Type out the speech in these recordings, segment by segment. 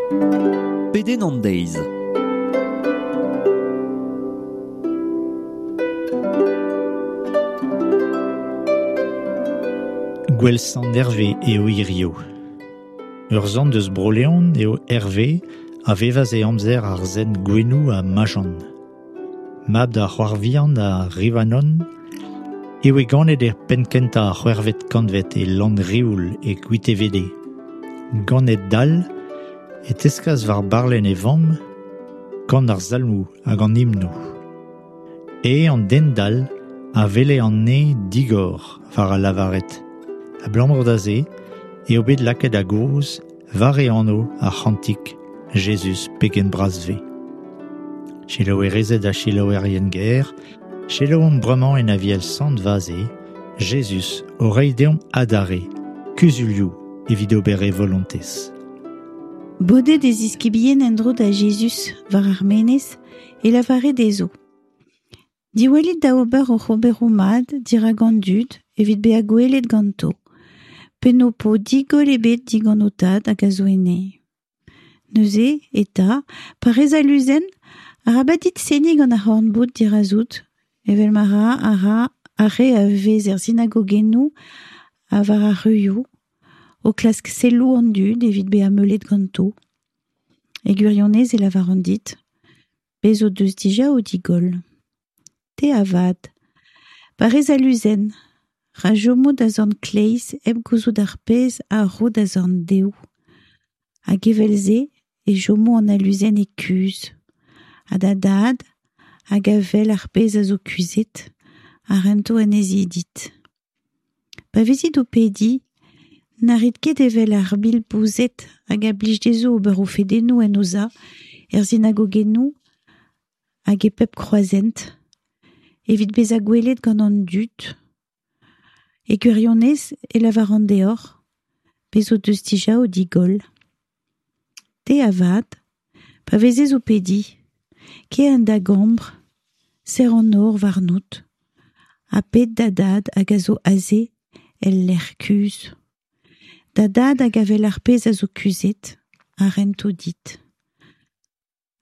Pedenn an deiz. Gwel Sant Herve eo hirio. Ur sant eus Bro-Leon eo Herve a vevas e amzer ar sent Gouenoù ha Majan. Mab da C'hoarvian ha Rivanon eo e ganet er penn-kentañ ar c'hwec'hvet kantved e Lanrioul e Gwitevede. Ganet dall e teskas war barlenn e vamm kan ar salmoù hag an himnoù. E an den dall a wele an neñv digor war a lavared. Abalamour da se eo bet lakaet a-gozh war e anv ar c'hantik Jezuz pegen bras 'vez. Selaouerezed ha selaouerien ger, selaouomp bremañ en Aviel Sant Vaze, Jezuz o reiñ deomp adarre kuzulioù evit ober e volontez. Bodet e ziskibien en-dro da Jezuz war ar menez e lavare dezho. Diwallit da ober hoc'h oberoù mat dirak an dud evit bezañ gwelet ganto, pe n'ho po digoll ebet digant ho tad hag a zo enne. Neuze, eta, pa rez aluzenn, arabat dit seniñ gant ar c'horn-boud dirazout, evel ma ra a ra ar re a vez er sinagogennoù ha war ar ruioù, o klask selloù an dud evit bezañ meulet ganto. E gwirionez e lavaran dit, bez' o deus dija o digoll. Te avat, pa rez aluzenn, ra chomo da zorn kleiz hep gouzout ar pezh a ro da zorn dehou. Hag evel-se e chomo an aluzenn e kuzh. Ha da dad, hag a wel ar pezh a zo kuzhet, a rento anezhi dit. Pa vezit o pediñ, na rit ket evel ar bilpouzed hag a blij dezho ober o fedennoù en o za, er sinagogennoù hag e pep kroazhent, evit bezañ gwelet gant an dud. E gwirionez e lavaran deoc'h, bez' o deus dija o digoll. Te avat, pa vezez o pediñ, kae en da gambr, serr an nor warnout, ha ped da dad hag a zo aze el lec'h kuzh. Da dad hag a wel ar pezh a zo kuzhet, a rento dit.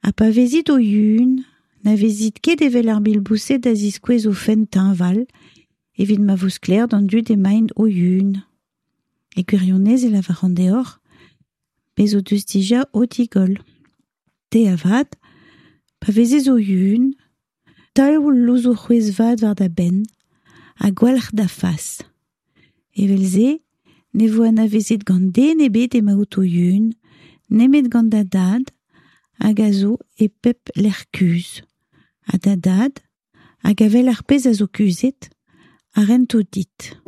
Ha pa vezit o yun, na vezit ket evel ar bilboused a ziskouez o fenn teñval, evit ma vo sklaer d'an dud emaint o yun. E gwirionez e lavaran deoc'h, bez' o deus dija o digoll. Te avat, pa vezez o yun, taol louzoù c'hwezh-vat war da benn ha gwalc'h da fas. Evel-se ne vo anavezet gant den ebet emaout o yun, nemet gant da dad hag a zo e pep lec'h kuzh. Ha da dad, hag a wel ar pezh a zo kuzhet, a rento dit.